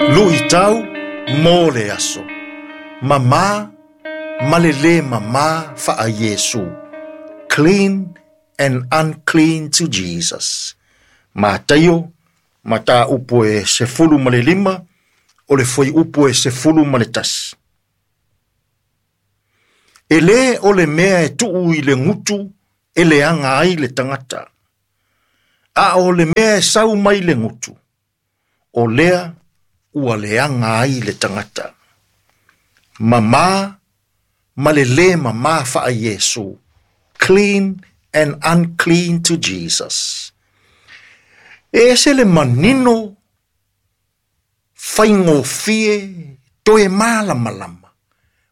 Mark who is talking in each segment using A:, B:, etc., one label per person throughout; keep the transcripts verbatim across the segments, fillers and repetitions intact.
A: Luitau mo le aso. Mamā ma le lē mamā faa-Iesu. Clean and unclean to Jesus. Mataio, mataupu e sefulu ma le lima, o le fuaiupu e sefulu ma le tasi. E lē o le mea e tuu i le gutu e leaga ai le tagata. A o le mea e sau mai le gutu, o lea ua leaga ai le tagata. Mamā ma le lē mamā faa-Iesu. Clean and unclean to Jesus. E ese le manino faigofie toe malamalama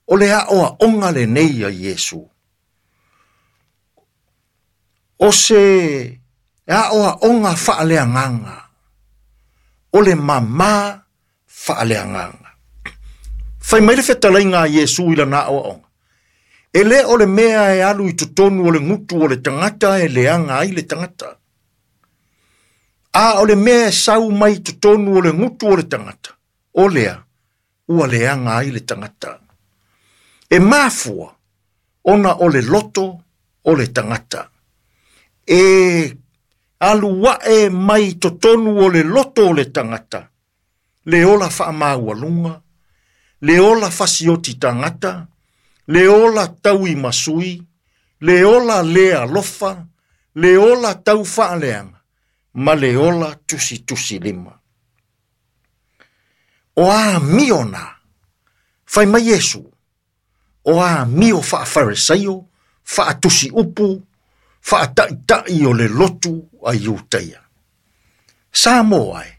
A: o le aoaoga lenei a Iesu. O se aoaoga faaleagaga, o le mamā faaleagaga. Fai mai le fetalaiga a Iesu i lana aoaoga. E lē o le mea e alu i totonu o le gutu o le tagata e leaga ai le tagata. A o le mea e sau mai totonu o le gutu o le tagata, o lea ua leaga ai le tagata. E mafua ona o le loto o le tagata. E alu ae mai totonu o le loto o le tagata, le ola faamaualuga, le ola fasioti tagata, le ola tauimasui, le ola le alofa, le ola taufaaleaga, ma le ola tusitusilima. O amio na, fai mai Iesu, o amio faafaresaio, faatusiupu, faataʻitaʻi o le lotu a Iutaia. Samoa e,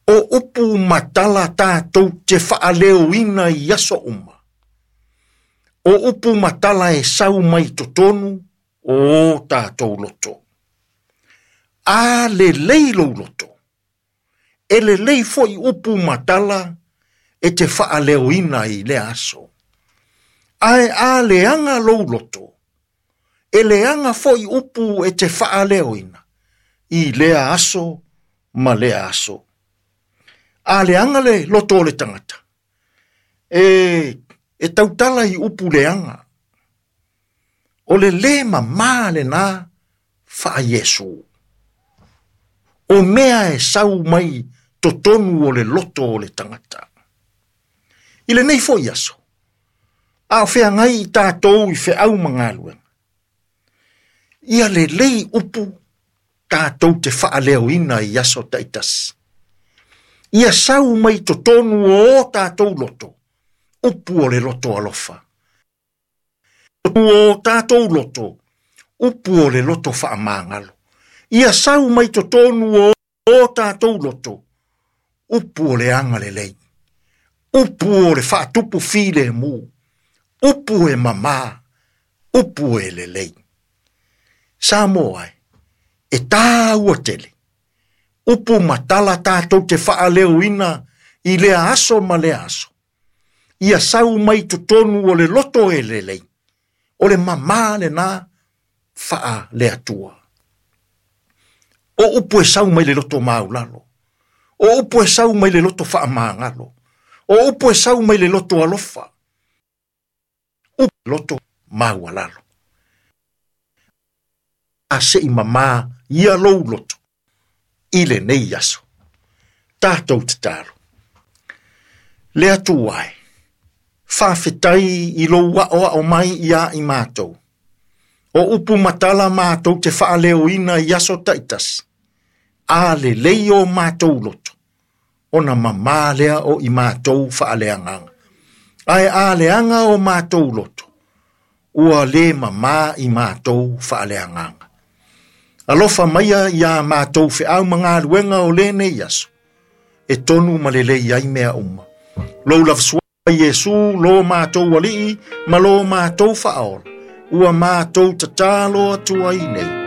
A: o upu ma tala tatou te faaleoina i aso uma. O upu ma tala e sau mai totonu o o tatou loto. A lelei lou loto, e lelei foi upu ma tala e te faaleoina i lea aso. Ae a leaga lou loto, e leaga foi upu e te faaleoina i lea aso ma lea aso. A leaga le loto o le tagata, e, e tautala i upu leaga. O le lē mamā lenā faa-Iesu. O mea e sau mai totonu o le loto o le tagata. I lenei foi aso, a o feagai i tatou i feau ma galuega. Ia lelei upu tatou te faaleoina i aso taitasi. Ia sau mai totonu o o tatou loto, upu o le loto alofa. O tatou loto, upu o le loto faamagalo. Ia sau mai totonu o o tatou loto, upu o le agalelei. Upu o le faatupu filemu, upu e mamā, upu e lelei. Samoa e, e tāua tele. Upu ma tala tatou te faaleoina i lea aso ma lea aso. Ia sau mai totonu o le loto e lelei, o le mamā lenā faale Atua. O upu e sau mai le loto maulalo. O upu e sau mai le loto faamagalo. O upu e sau mai le loto alofa. Upu loto maualalo. A seʻi mamā ia lou loto i lenei aso. Tatou tatalo. Le Atua e, faafetai i lou aoao mai iā i matou. O upu ma tala matou te faaleoina i aso taitasi. A lelei o matou loto, ona mamā lea o i matou faaleagaga. Ae a leaga o matou loto, ua lē mamā i matou faaleagaga. Alofa maia iā matou feau ma galuega o lenei aso, e tonu ma lelei ai mea uma. Lou lava Iesu lo matou Alii ma lo matou Faaola, ua matou tatalo atu ai nei.